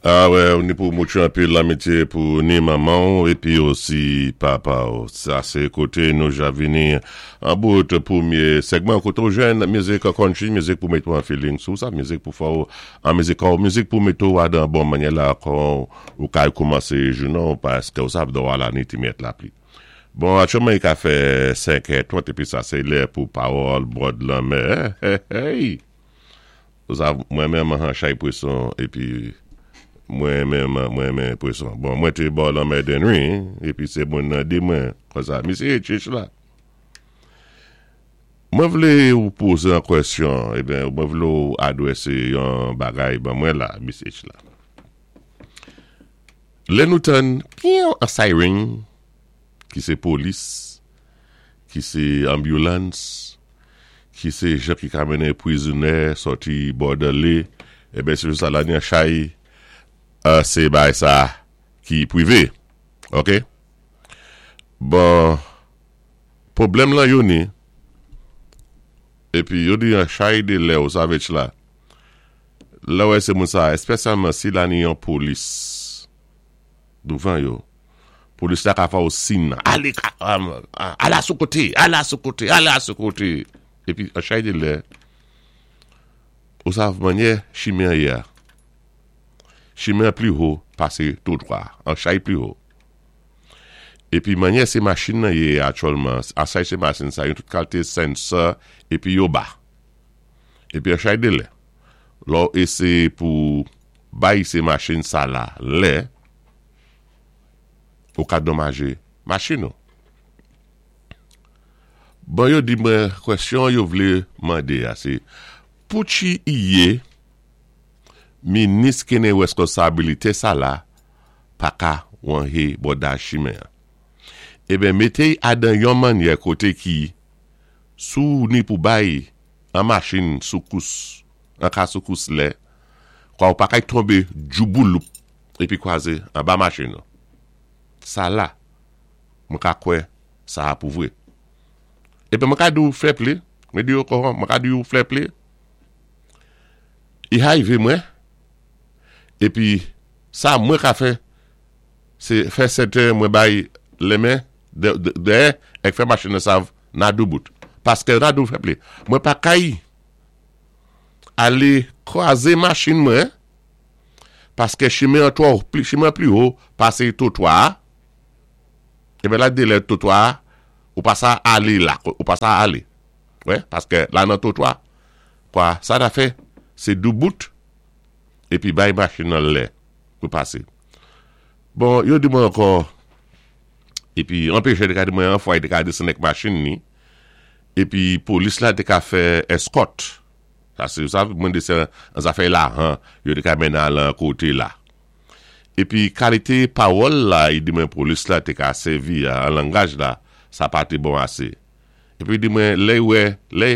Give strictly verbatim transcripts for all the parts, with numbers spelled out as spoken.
Ah wè, ou ni pou moutré anpil lanmitié pou ni manman épi osi papa ou. Sa sé koté nou ja vini an bout pwémyé segman koté ou jwenn mizik country, mizik pou mété ou an feeling sou sa, mizik pou fè ou an mizik ou, mizik pou mété ou adan bon mannyè la kon ou kay koumansé jounen paské ou sav déwò la ni ti myèt lapli. Bon, aktyèlman i ka fè senk è trant épi sa sé lè pou pawòl bòd lanmè. Hey, hey. Ou sav, mwen menm an chay pwéson épi mwen menm mwen renmen pwéson. Bon, mwen té bò lanmè Dennery, épi sé moun nan di mwen konsa, misye chich la. Mwen vlé ou pozé an kwèsyon, eben, mwen vlé ou adwésé yon bagay ban mwen la, misye la. Lè nou tann, piyon an siren, ki sé polis, ki sé ambulance, ki sé jan ki ka mennen prizonyé sòti bòdèlé, eben, sé sa la ni an chay, euh, sé bay sa ki pwivé. Ok? Bon, pwoblèm lan yo ni, épi yo di an chay dé lè ou savèch la, lè wè sé moun sa, espésyalman si la ni yon polis douvan yo, polis la ka fè ou sin, alé, ala sou koté, ala sou koté, ala sou koté, épi an chay dé lè, ou sav mannyè chimen yé, chimen pli wo pasé twotwa, an chay pli wo. Épi mannyè sé machin nan yé aktyèlman, an chay sé machin sa, yon tout kalité sensor, épi yo ba. Épi an chay dé lè, lò éséyé pou bay sé machin sa la, lè, ou ka donmajé machin nou. Bon, yo di mwen kwèsyon yo vlé mandé a, sé pouchi i yé minis ki ni weskonsabilité sa la pa ka wanjé bòdaj chimen. Eben, mété adan yon mannyè koté ki sou ni pou bay an machin soukous, an ka soukous lè, kwa ou pa kay tonbé djouboulou épi kwazé anba machin nou. Sa la, mwen ka kwè sa a pou vwé. Eben, mwen ka di ou flè pli, mwen di ou kon, mwen ka di ou flè pli, i arivé mwen, épi sa mwen ka fè, sé fè sèten mwen bay lémen dèyè èk fè machin nan sav na doubout. Paské na dou flè pli. Mwen pa kay alé kwazé machin mwen, paské chimen an twò, pli, chimen pli wo pasé twotwa. Eben la dé lè twotwa, ou pa sa alé la, ou pa sa alé. Wè, paské la nan twotwa, kwa sa ta fè, sé doubout, épi bay machin nan lè pou pasé. Bon, yo di mwen ankò, épi anpéché té ka di mwen an fwa, té ka desann èk machin ni, épi polis la té ka fè escort. Sa sé sa, mwen di sé an zafè la, han, yo té ka mennen al an koté la. Épi kalité pawòl la, i di mwen polis la té ka sèvi an langaj la, sa pa té bon asé. Épi di mwen, lè wè, lè,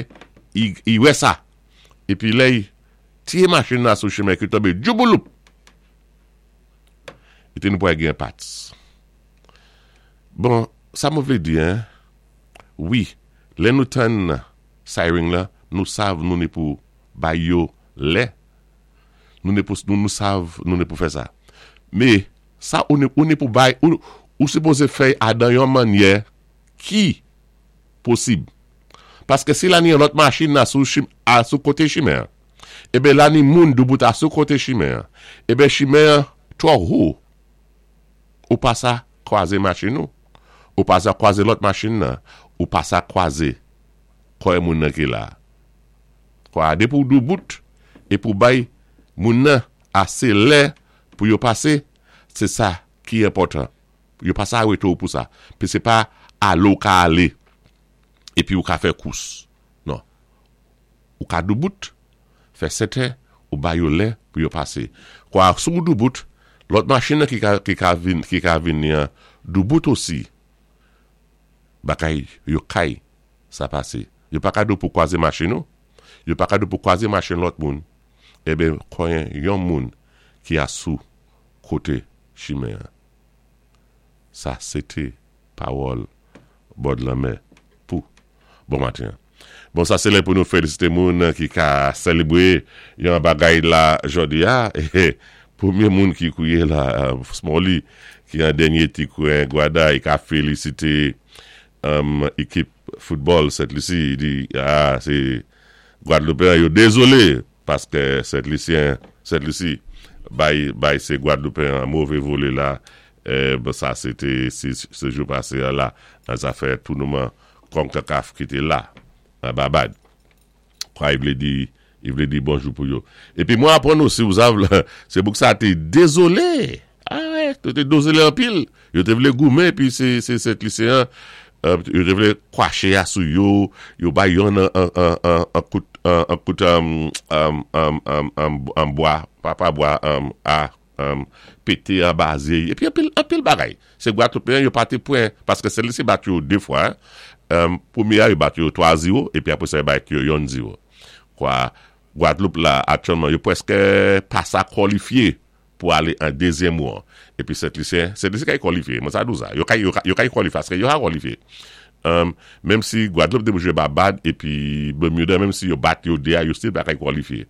i, i wè sa. Épi lè, tiyé machin la sou chimen ki tonbé djouboulou. I té nou pou gen parts. Bon, sa mwen vlé di, hein, wi, lè nou tann siren la, nou sav nou ni pou bay yo lè, nou ni pou, nou, nou sav nou ni pou fè sa. Mé, sa ou ni, ou ni pou bay, ou, ou sipozé fè adan yon mannyè ki posib. Paské si la ni yon lòt machin nan sou chim, a sou koté chimen, eben la ni moun doubout a sou koté chimen, eben chimen twò wo, ou pa sa kwazé machin nou, ou pa sa kwazé lòt machin nan, ou pa sa kwazé kòy moun nan ki la. Kwa, dé pou doubout, é pou bay moun nan asé lè pou yo pasé, sé sa ki enpòtan. Yo pa sa arété ou pou sa. Pi sé pa alé ou ka alé, épi ou ka fè kous. Non. Ou ka doubout, fè sèten, ou bay yo lè pou yo pasé. Kwa, sou doubout, lòt machin nan ki ka, ki ka vin, ki ka vini an doubout osi, bakay, yo kay, sa pasé. Yo pa ka dou pou kwazé machin nou, yo pa ka dou pou kwazé machin lòt moun, eben, konyen yon moun ki a sou koté chimen. Sa, sété pawòl bòd lanmè pou bon maten. Bon, sa sé lè pou nou félisité moun ki ka sélébwé yon bagay la jòdi a. Pwémyé moun ki kouwé la, Smalley, ki an dènyé ti kwen Gwada, i ka félisité um, ékip foutbòl Sent Lisi, i di, ah, sé Gwadloupen, yo dézolé, paské Sent Lisyen, Sent Lisi, bay, bay sé Gwadloupen an mové volé la, eh, ben sa sé té, sé jou pasé la, nan zafè tounouman Konkakaf ki té la, an Babad. Kwa i vlé di, i vlé di bonjou pou yo. Épi mwen apwann osi, ou sav, sé bouk sa té dézolé. Ah wè, yo té dézolé anpil. Yo té vlé goumen, épi sé, sé Sent Lisyen, euh, yo té vlé kwaché a sou yo, yo bay yon an, an, an, an, an kout, an, an kout, um, um, um, um, um, an bwa, pa pa bwa, um, a, um, pété anba zé, épi anpil, anpil bagay. Sé Gwadloupen, yo pa té pwen, paské Sent Lisi bat yo dé fwa, um, pwémyé a, yo bat yo twa zewo, épi apwé sa yo bat yo yon zewo. Kwa, Gwadloup la, aktyèlman, yo pwèské pa sa kwalifyé pou alé an dézyèm won. Épi Sent Lisyen, Sent Lisyen kay kwalifyé, mwen sa dou sa, yo kay, yo kay, yo kay kwalifyé, paské yo ka kwalifyé. Um, menm si Gwadloup té jwé Babad, épi Bermuda, menm si yo bat yo dé a, yo still pa kay kwalifyé.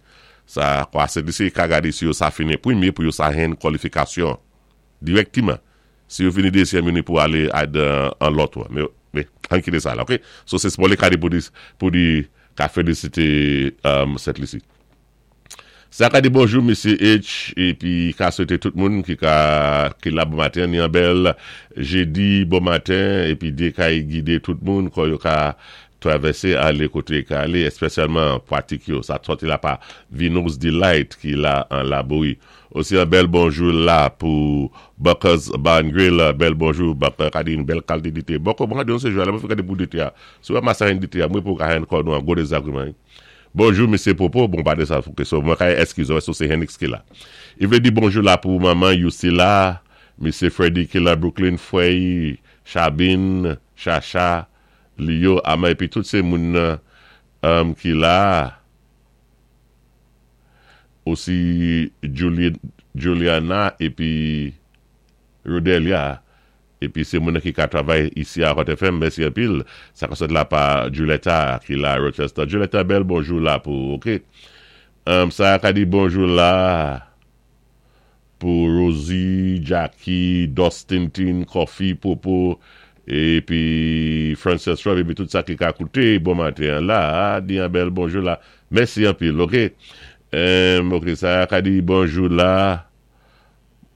Sa, kwa Sent Lisi ka gadé si yo sa fini pwémyé pou yo sa jwenn kwalifikasyon dirèkteman. Si yo fini dézyèm, yo ni pou alé ad an lòt won. Mé, mé, an kité sa la, ok? So sé Smalley ka di pou di, pou di ka félisité um, Sent Lisi. Sa ka di bonjou, Mesye H, épi ka swété tout moun ki ka ki la bon maten, ni an bèl jédi bon maten, épi Dye kay gidé tout moun kon yo ka travèsé alé koté ka alé, espésyalman pwatik yo. Sa sòti la pa Vino's Delight ki la an Laborie. Osi an bèl bonjou la pou Buckers Bar and Grill, bèl bonjou, Bucker ka di yon bèl kalité dité. Bucker, mwen ka di yon sé jou, mwen fè ka di pou dité a. Si wè masa yon dité a, mwen pou ka hen kon nou an gwo dézagréman. Bonjou, Mesye Popo, bon pa de sa, fouke so, mwen ka eskize, so sé Henix ki la. I vlé di bonjou la pou maman Yusila, Mesye Freddy ki la Brooklyn, Fwey, Chabine, Chacha, Lio, Ama, épi tout sé moun um, ki la. Osi Julie, Juliana, épi Rodelia, épi sé moun ki ka travay isi a Hot F M, mèsi anpil. Sa ka sot la pa Julietta ki la Rochester. Julietta, bèl bonjou la pou, ok? Um, sa ka di bonjou la pou Rosie, Jackie, Dustin Tin, Coffee, Popo, épi Frances Rob, épi tout sa ki ka kouté, bon maten la, di an bèl bonjou la. Mèsi anpil, ok? Um, ok, sa ka di bonjou la,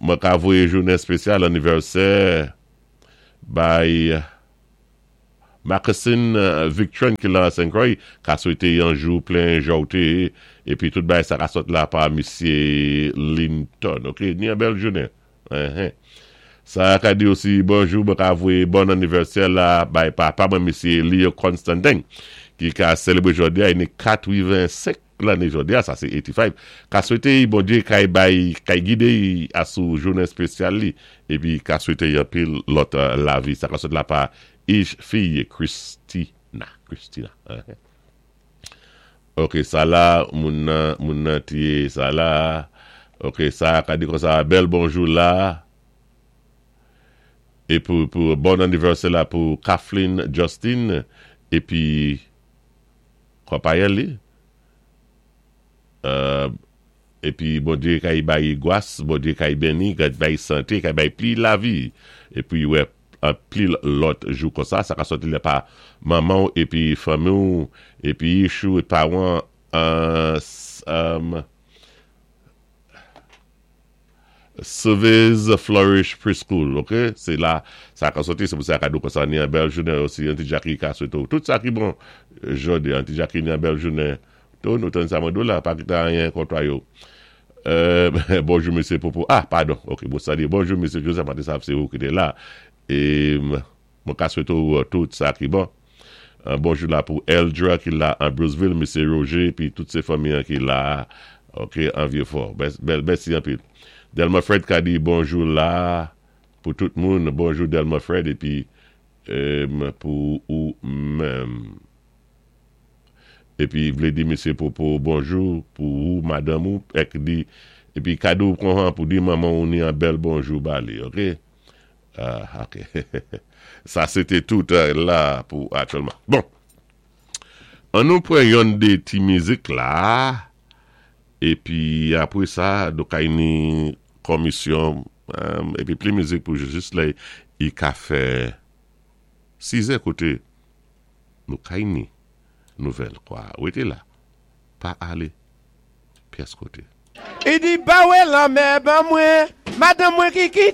mwen ka voyé jounen spésyal anivèsè bay Marcusine Victron ki la Saint Croix, ka swété yon jou plen jòté, épi tout bay sa ka sot la pa Mesye Linton, ok? Ni an bèl jounen. Uh-huh. Sa ka di osi bonjou, mwen ka voyé bon anivèsè la bay papa mwen Mesye Leo Constantin, ki ka sélébwé jòdi a, i ni katwenn-senk lanné jòdi a, sa sé katwenn-senk. Ka swété bon Dye kay bay, kay gidé a sou jounen spésyal li, épi ka swété yon pil lòt uh, lavi. Sa ka sot la pa Ish fiy Christina. Christina. Uh-huh. Ok, sa la, moun nan, moun nan tiye sa la. Ok, sa ka di kon sa, bèl bonjou la. É pou, pou bon anivèsè la pou Kathleen Justin, épi konpayèl li. Euh, épi bon Dye kay bay gwas, bon Dye kay béni, kay bay santé, kay bay pli lavi. Épi wè, an pli lòt jou kon sa, sa ka sòti la pa manman épi fanmi ou, épi chou et pawan, euh, um, Service Flourish Preschool, ok? Sé la, sa ka sòti, sé pou sa ka dou kon sa ni an bèl jounen osi, Auntie Jackie ka swété ou. Tout sa ki bon, jòdi, Auntie Jackie ni an bèl jounen. Tou nou tann sa mwen dou la, pa kité anyen kontwa yo. Euh, bonjou, Mesye Popo. Ah, padon, ok, bon sa di. Bonjou, Mesye Joseph, mwen sav sé ou ki té la. É mwen ka swété ou tout sa ki bon. Uh, bonjou la pou Eldra ki la an Bruceville, Mesye Roger, pi tout sé fanmi an ki la, ok, an Vieux-Fort. Bèl, mèsi anpil. Delma Fred ka di bonjou la pou tout moun. Bonjou Delma Fred, épi um, pou ou menm. Épi vlé di Mesye Popo bonjou pou ou madanm ou ek di épi kado kon pou di manman ou ni an bèl bonjou ba li, ok? Ah, ok. Sa sé té tout la pou aktyèlman. Bon. An nou pran yon dé ti mizik la épi apwé sa nou kay ni Komisyon, épi pli mizik pou jis lè i ka fè sizè koté nou kay ni nouvèl kwa. Wété la, pa alé pyès koté. I di pa wè lanmè ban mwen, madanm mwen ki kité.